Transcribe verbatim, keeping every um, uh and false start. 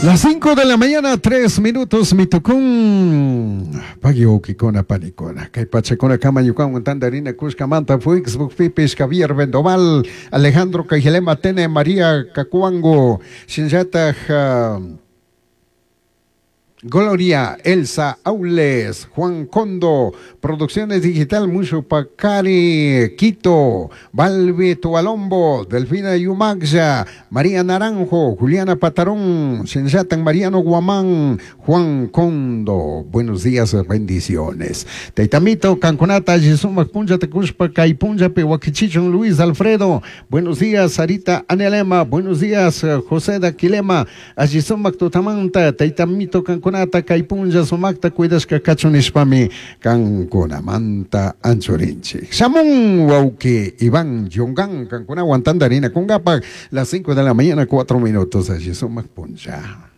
Las cinco de la mañana, tres minutos, mitucún. Pagui panicona. Kay pachakuna kama ñukanwan tantarina kushkamanta Facebook pipis Javier Vendoval, Alejandro Cajilema Tene, María Cacuango, Shinllataj uh, Gloria Elsa Aules, Juan Condo, Producciones Digital Mushu Pacari, Quito, Balbi Tualombo, Delfina Yumaxia, María Naranjo, Juliana Patarón, Sensatan Mariano Guamán, Juan Condo. Buenos días, bendiciones. Teitamito, Cancunata, Yisumac Punja, Tecuspa, Caipunja, Pehuaquichichon, Luis Alfredo. Buenos días, Sarita Anelema. Buenos días, José Daquilema. Ayisumac Tutamanta, Teitamito, Cancunata. Kaypunlla sumakta cuidashka kachun nishpami kankunamanta anchurinchik. Shamun wawki Iván Yongan kankunawan tantarina kunkapak las cinco de la mañana cuatro minutos allí sumak punlla.